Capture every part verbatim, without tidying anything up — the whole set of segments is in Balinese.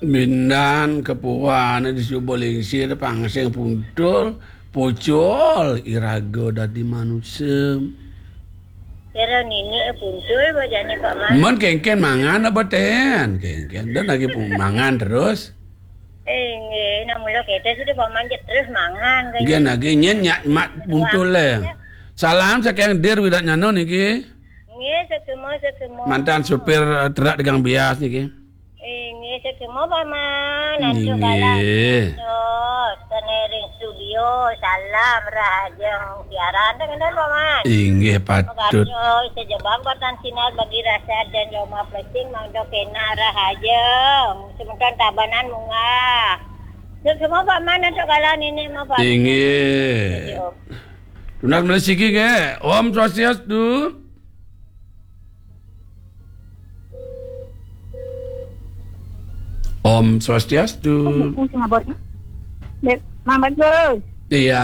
Mindan kepuan di suba lingsir, pangsing puntul, pucul iraga dadi manusa. Kira nini puntul ba jani, Pak Man. Men kénkén mangan apa ten? Kénkén. Dan lagi pu-, mangan terus. Eh, nggih, nak mula kita sudah Pak Man terus mangan, kan? Nggih, nggih, nyén nyak mat puntul le. Salam saking Dir Widatnyana niki. Nggih, sekema, sekema. Mantan supir, eh, truk dagang bias niki. Eh, nggih, sekema, Pak Man. Aduh, nggih. Galah. Terus, kene ring studio, salam rahajeng siaran, teh, ngenten, Pak Man. Inggih, patut. Pagarjo, sejebak batan sinar bagi rasa dan Roma Plesing, mangda kena rahajeng. Semeton Tabanan munggah. Sekema, Pak Man, aduh, galah nini mah, Pak Man. Inggih. Studio. Tunas melih siki, nggih. Om Swastiastu. Om Swastiastu. Oh, buku sing abot. Dek, Mang Bagus. Iya.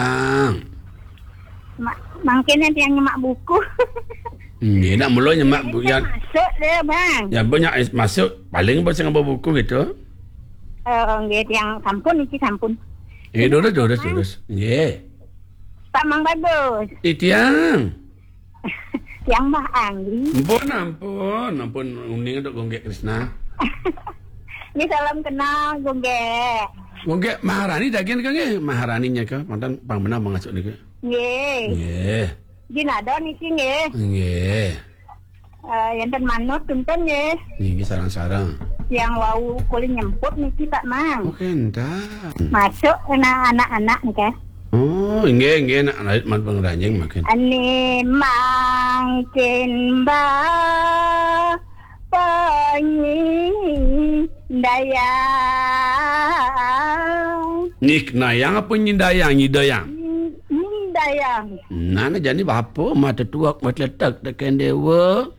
Ma-, mangkene tiang nyemak buku. Nggih, nak mula nyemak bu-, ya. Masuk deh, Bang. Ya, banyak is-, masuk. Paling apa sing ngaba buku gitu. Eh, nggih, tiang sampun, iki sampun. Nggih, durus, durus, durus. Nggih. Pak Mang Bagus. Ih, tiang. Tiang Mbah Anggi. Ampun, ampun, ampun, uning untuk Gonggek Krisna. Ini salam kenal, Gonggek. Gonggek Maharani daging ka nggih? Maharani nya ka, mantan pang menang mangasuh nika. Nggih. Nggih. Jinado niki nggih. Nggih. Eh, enten manut tuntun nggih. Nggih, sareng-sareng. Yang wau kuli nyemput niki, Pak Mang. Oke, entar. Masuk kena anak-anak nika. Oh, nggih, nggih, nak alit man pangranjing makin. Ane mangkin ba panyindayang. Nik nayang apa nyindayang, nyidayang? Nyindayang. Nah, nah, jani bapa mata tuak, mata letak, tekan dewa.